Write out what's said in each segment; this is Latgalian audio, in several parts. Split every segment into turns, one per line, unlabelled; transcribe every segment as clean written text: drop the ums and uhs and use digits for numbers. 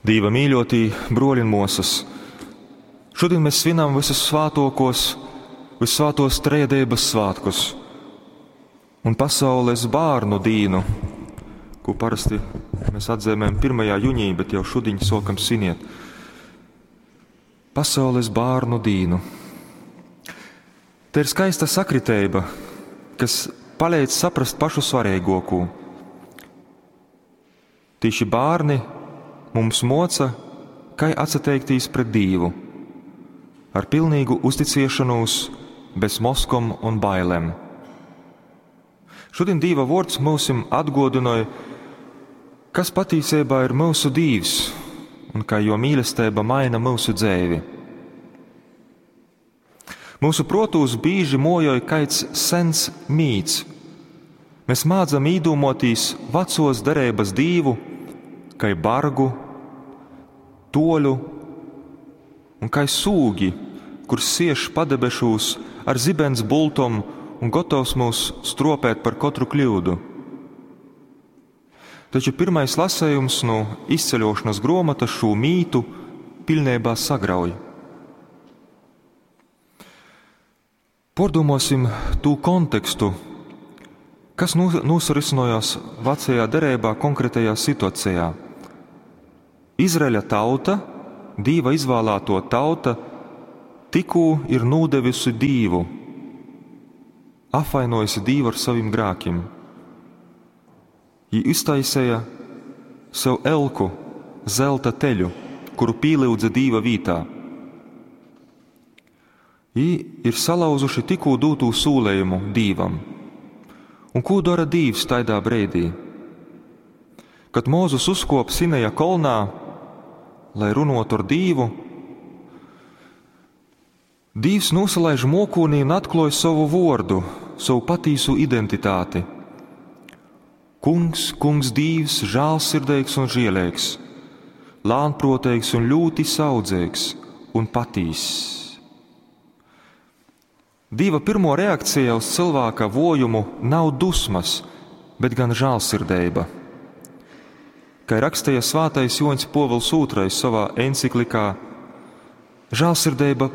Dīva mīļotī bruoļi un muosys, šodien mēs svinam vysusvātuokos, vyssvātuos Trejadeibys svātkus un Pasaules bārnu dīnu, kū parasti mēs atzīmējam 1. juņī, bet jau šudiņ suokam sviniet. Pasaules bārnu dīnu. Te ir skaista sakriteiba, kas paleidz saprast pašu svareiguokū. Tīši bārni mums moca, kai atsateiktīs pret Dīvu, ar pilnīgu uzticiešonūs, bez moskom un bailēm. Šodien Dīva vuords myusim atguodynoj, kas patīseibā ir myusu Dīvs un kā jo mīlestība maina myusu dzeivi. Mūsu protūs bīži mojoj kaids sens mīts. Mēs mādzam īdūmotīs vecos dereibas Dīvu, kai bargu, toļu un kai sūgi, kurs sieš padebešūs ar zibens bultom un gotovs mūs stropēt par kotru kļūdu. Taču pirmais lasējums no izceļošanas gruomotas šo mītu pilnībā sagrauj. Pordomāsim tū kontekstu, kas nūsarisinojās vecajā derībā konkrētajā situācijā. Izraeļa tauta, Dīva izvēlēto tauta, tikū ir nūdevusi Dīvu, apvainojusi Dīvu ar saviem grēkiem. Ji iztaisīja sev elku, zelta teļu, kuru pīlyudza Dīva vītā. Jī ir salauzuši tikū dūtū sūlējumu Dīvam. Un kū dara Dīvs taidā breidī? Kad Mūzus uzkop Sineja kolnā, lai runotu ar Dīvu, Dīvs nūsalaiž mokūnī un atkloja sovu vordu, savu patīsu identitāti. Kungs, kungs Dīvs, žālsirdīgs un žielīgs, lānproteigs un ļoti saudzīgs un patīss. Dīva pirmo reakcija uz cilvēka vojumu nav dusmas, bet gan žālsirdība. Kā rakstīja svētais Joņs Povils II savā enciklikā, žālsirdība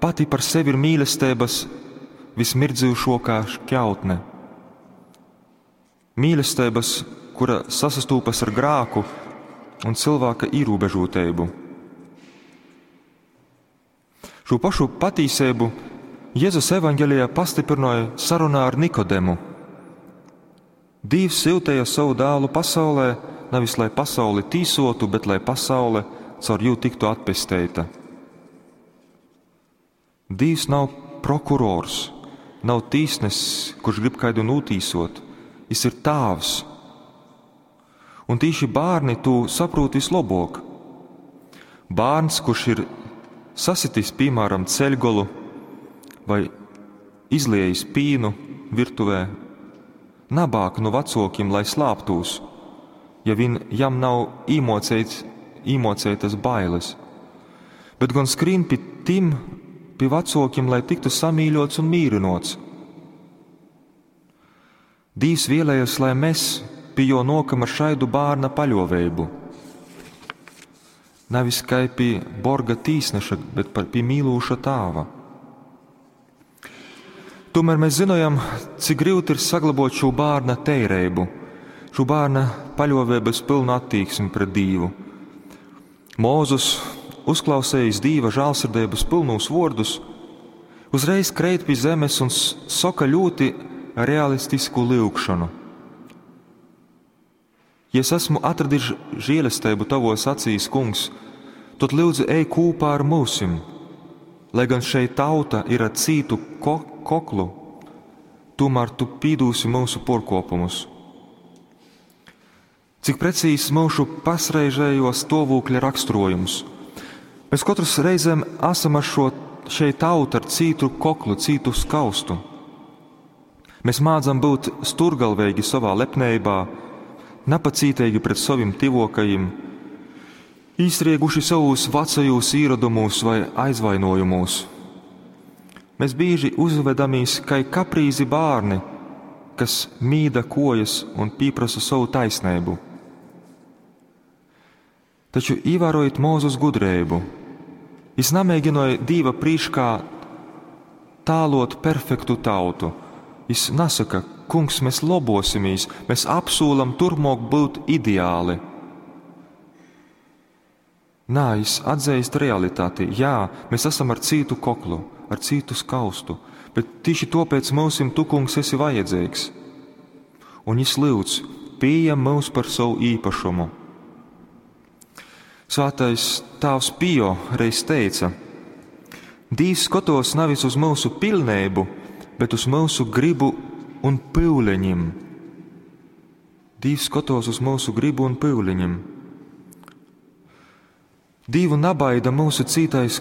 pati par sevi ir mīlestības vismirdzīšākā šķautne. Mīlestības, kura sasastūpas ar grāku un cilvēka ierobežotību. Šo pašu patīsību Jēzus evaņģēlijā pastiprināja sarunā ar Nikodemu. Dievs siltēja savu dēlu pasaulē, nevis lai pasauli tīsotu, bet lai pasaule caur jū tiktu atpesteita. Dievs nav prokurors, nav tīsnesis, kurš grib kaidu nūtīsot. Jis ir tāvs. Un tīši bērni tū saprot vislabāk. Bērns, kurš ir sasitis, piemēram, ceļgolu vai izliejis pīnu virtuvē, nabāk no vecokiem, lai slāptūs, ja vien jam nav īmocēts, īmocētas bailes, bet gan skrīn pie tim, pie vecokiem, lai tiktu samīļots un mīrinots. Dīvs vēlējas, lai mēs pie jo nokam ar šaidu bērna paļovējumu. Nevis kai pie borga tīsneša, bet par pie mīlūša tāva. Tomēr mēs zinājam, cik grūti ir saglabot šo bērna teireibu, šo bērna paļovēbas pilnu attieksmi pret Dīvu. Mūzus, uzklausējis Dīva žālsirdības pilnūs vārdus, uzreiz kreit pie zemes un soka ļoti realistisku lūgšanu. Ja es esmu atradis žēlastību tavos acīs, kungs, tad lūdzu ej kopā ar mūsim, lai gan šeit tauta ir ar cītu ko koklu, tomēr tu pīdūsi mūsu porkopumus. Cik precīzs mūsu pasreizējo stāvokļa raksturojums. Mēs katrs reizēm esam ar šo šeit tautu ar cītu koklu, cītu skaustu. Mēs mādzam būt sturgalveigi savā lepnībā, napacītīgi pret saviem tivokajiem, īstrieguši savos vecajos īradumos vai aizvainojumos. Mēs bieži uzvedamies kā kaprīzi bērni, kas mīda kojas un pieprasa savu taisnību. Taču īvērojit Mūzus gudrību. Jis namēģināja Dīva prīškā tālot perfektu tautu. Jis nasaka, kungs, mēs lobosimies, mēs apsūlam turpmāk būt ideāli. Nā, jis atzīst realitāti. Jā, mēs esam ar cītu koklu, ar cītu skaustu, bet tieši tāpēc mūsim tu, kungs, esi vajadzīgs. Un jis lūdz, pieņem mūs par savu īpašumu. Svētais Tāvs Pio reiz teica: Dīvs skatos nevis uz mūsu pilnību, bet uz mūsu gribu un pyuleņim. Dīvs skatos uz mūsu gribu un pyuleņim. Dīvu nabaida mūsu cītais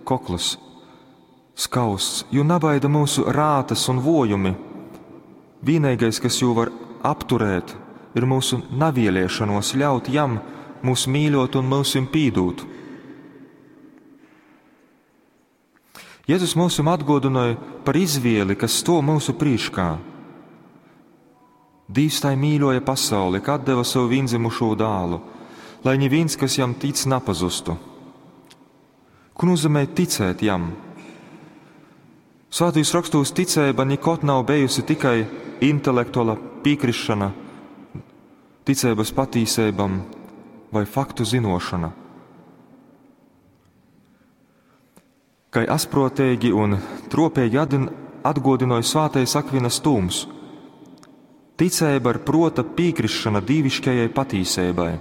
kokls, skausts, jo nabaida mūsu rātas un vojumi. Vienīgais, kas jū var apturēt, ir mūsu navieliešanos ļaut jam mūs mīļot un mūsim pīdūt. Jēzus mūsim atgodināja par izvieli, kas sto mūsu prīškā. Dīvs tai mīļoja pasauli, ka atdeva savu vienzimušo dālu, lai neviens, kas jam tic, napazustu. Ko nozīmē ticēt jam? Svētījus rakstos ticība nekad nav bijusi tikai intelektuāla piekrišana ticības patīsībam vai faktu zinošana. Kai asprotīgi un tropīgi atgodināja svētais Akvinas tūms, ticība ir prota piekrišana dīviškajai patīsībai,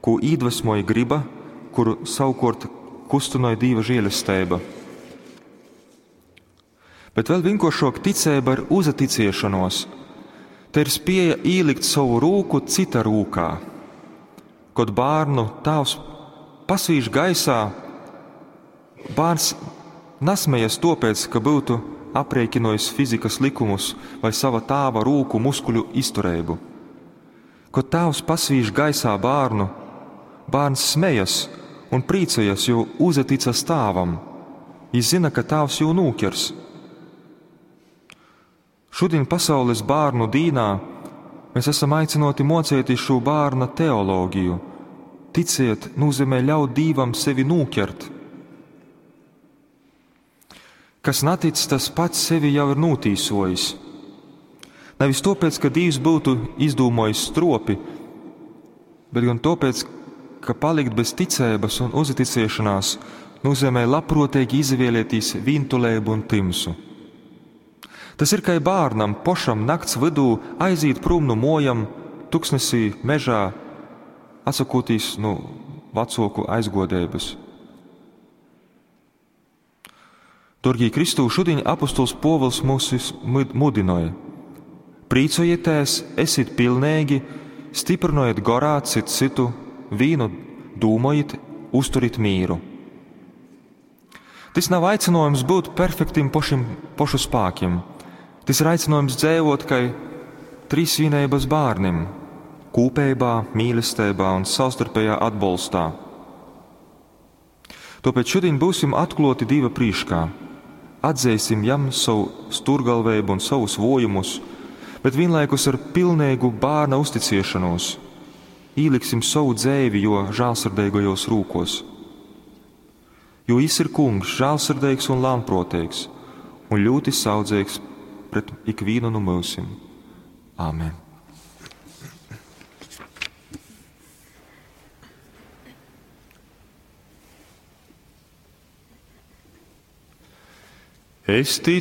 ko iedvesmoja griba, kuru savukārt kustināja Dieva žēlastība. Bet vēl vienkāršāk ticība ir uzaticiešanos. Te ir spēja ielikt savu rūku cita rūkā. Kad bērnu tēvs pasvīž gaisā, bērns nasmējas topēc, ka būtu aprēķinojis fizikas likumus vai sava tēva rūku muskuļu izturību. Kad tēvs pasvīž gaisā bērnu, bērns smejas un priecājas, jo uzaticas tēvam. Viņš zina, ka tēvs jū nūkers. Šodien pasaules bērnu dīnā mēs esam aicināti mocēties šo bērna teoloģiju. Ticiet nozīmē ļaut Dievam sevi nūkert. Kas natic, tas pats sevi jau ir nūtīsojis. Nevis tāpēc, ka Dievs būtu izdūmojis stropi, bet gan tāpēc, ka palikt bez ticības un uzticēšanās nozīmē labprātīgi izvēlēties vientulību un timsu. Tas ir kā bērnam pošam nakts vidū aiziet prom no mojam, tuksnesī, mežā, atsakotīs no vecoku aizgodības. Dārgī Kristū, šodien apustuls Pōvils mūs mudināja. Priecājieties, esiet pilnīgi, stiprinojiet gorā citu citu, vīnu dūmojiet, uzturit mīru. Tas nav aicinājums būt perfektim pošim, pošu spēkiem. Tas ir aicinājums dzīvot kā trīsvienības bērnim, kūpībā, mīlestībā un savstarpējā atbalstā. Tāpēc šodien būsim atklāti Dieva prīškā, atzīsim jam savu stūrgalvību un savus vojumus, bet vienlaikus ar pilnīgu bērna uzticēšanos ieliksim savu dzēvi jo žēlsirdīgajos rūkos. Jo jis ir kungs, žēlsirdīgs un lānprotīgs, un ļoti saudzīgs pret ikvienu no mūsim. Āmen! Es ticu.